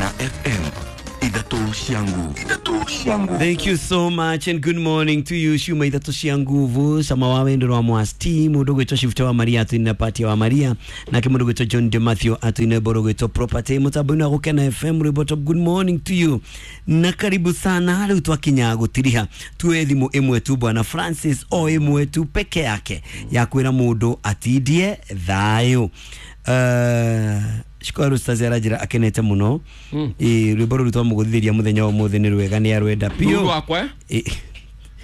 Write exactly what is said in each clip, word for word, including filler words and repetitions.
Gukena F M ithatu cia nguvu. Ithatu cia nguvu. Thank you so much and good morning to you. Shuma ithatu cia nguvu sama wa wendo wa mwasti mundu gwitwo Shift wa Maria atuine party wa Maria na kimundu gwitwo John De Matthew atuine boro gwitwo property mutambo-ini wa Gukena F M rwimbo. Good morning to you na karibu sana. Riu twakinya gutiriha tuwe thimu imwe tu bwana Francis o imwe tu peke yake ya kwira mundu atindie thayo. Uh, shikwaru stazi arajira akenete muno mm. E rwimbo ruru twamuguthiria muthenya wa muthi ni rwega ni arwenda piu rwakwa eh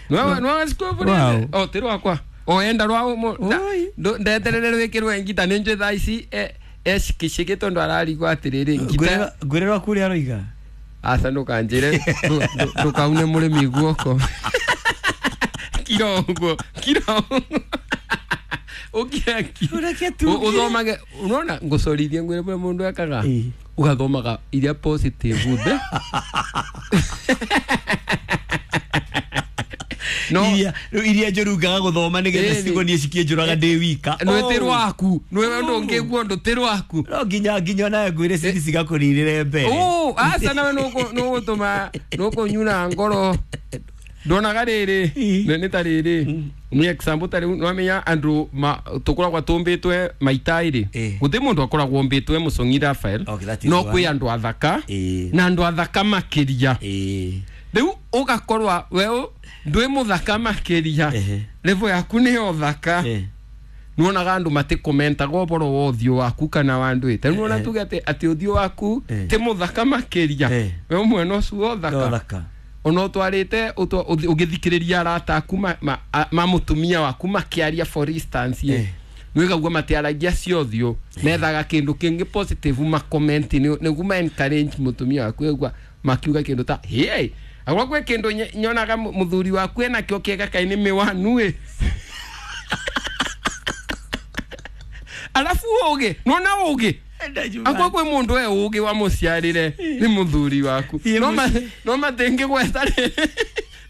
no no sikovu o ti rwakwa o enda rwa ndeterere rwikirwe ngita ni njwe thaa ici ecikiciki tondu ararigwo atiriri ngita ngwire rwaku uria aroiga aca ndukanjire ndukaune murimi guoko kirongo kirongo ukiaki uthomage unaona ngucorithie ngwire bure mundu ekaga ugathomaga iria positive the no iria iria njuru ngaga guthoma nigetha cigonie cikie njuraga ndi wika no ti rwaku no ndungiguo ndu ti rwaku no nginya nginya nawe ngwire cithi cigakuririre mbere oh aca nawe no gutuma no kunyura ngoro ndonaga riri ni ta riri ni example ta riu nwamenya andu tukoragwa tumbitwe maita iri guti mundu akoragwo mbitwe mucong'i Raphael no kwi andu athaka na andu athaka makiria riu ugakorwa we ndwi muthaka makiria level yaku ni uthaka nuonaga andu matikomentaga uboro wa uthio waku kana wa andu ite nuona tuge ati ati uthio waku ti muthaka makiria we mwena ucio uthaka ono twarite ugithikiriria arata aku ma, ma, ma mutumia waku makiaria for instance ye nwigagua matiaragia cio thio methaga kindu kingi positive ma comment ni guma encourage mutumia waku egwa makiuga kindu ta hey agwa kwe kindu nyonaga muthuri waku ena kio kiega kai ni miwanu e alafu uge nona uge akwa kwe mundu e uge wa muciarire ni muthuri waku no ma no matenge gwetha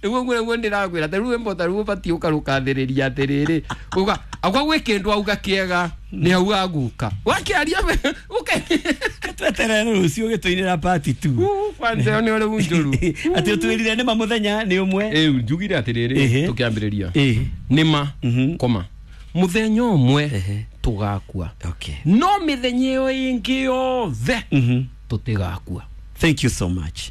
niguo ngure guo ndirakwira ta riu mbota riu ubati ukarukathiriria atiriri uga akwa gwe kindu auga kiega ni auga guka wakiaria uke tweterere rucio gituinira party tu kwanza ni uri njuru ati utwirire ni ma muthenya ni umwe eh njugire atiriri tukiambiriria ni ma koma muthenya umwe tugakua. Okay. No mithenya iyo ingi yothe tutigakua. Thank you so much.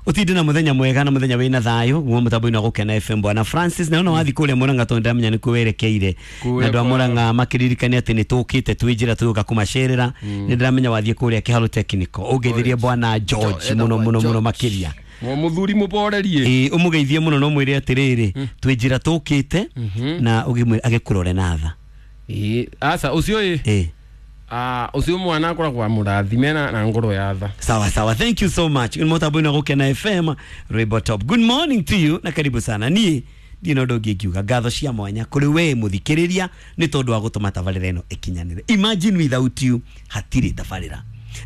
Utinde na muthenya mwega na muthenya wina thayo guo mutambo-ini wa Gukena F M bwana Francis na ona wathi kuria Murang'a tondu ndamenya ni kuwerekeire na andu a Murang'a makiririkania ati ni tukite twi njira tuguka kumacerera ni ndiramenya wathie kuria Kiharo Technical ungeithirie bwana George muno muno muno makiria muthuri muborerie eh umugeithie muno no mwire atiriri twi njira tukite na ugimwira agikurore na tha eh asa ucio eh ah ucio mwana akoragwo murathime na na ngoro ya tha. Sawa sawa, thank you so much. Mutambo-ini wa Gukena F M rwimbo top. Good morning to you na karibu sana. Ni ndino ndongi ngiuga ngatho cia mwanya kuri we muthikiriria ni tondu wa gutuma tabarira ino ikinyanire. Imagine without you hatiri tabarira.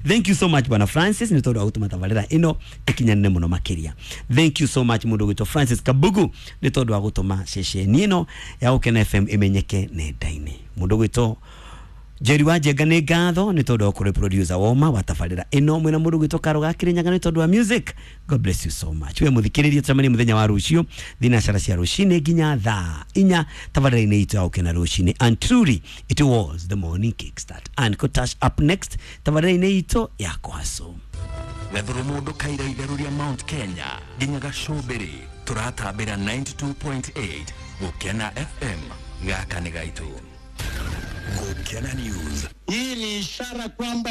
Thank you so much bwana Francis ni tondu wa gutuma tabarira ino ikinyanire muno makiria. Thank you so much mundu gwitwo Francis Kabugu ni tondu wa gutuma ceceni ino ya Gukena F M imenyeke nenda-ini. Mundu gwitwo Jerry wa Njenga nĩ ngatho nĩ tondũ wa kũrĩ producer woma wa tabarĩra ĩno mwĩna mũndũ gwĩtwo Karo ga Kĩrĩnyaga nĩ tondũ wa music. God bless you so much. We mũthikĩrĩria tũcemanie mũthenya wa rũciũ thinacara cia rũcinĩ nginya thaa inya tabarĩra-inĩ itũ ya Gukena rũcinĩ. And truly it was the morning kickstart and Kotash up next tabarĩra-inĩ itũ ya Kwaso. Gathuru mundu kaira itheru ria Mount Kenya nginya Gacũmbĩrĩ turatambĩra ninety-two point eight Gukena F M gaka nĩ gaitũ. Gukena News. Hii ni ishara kwamba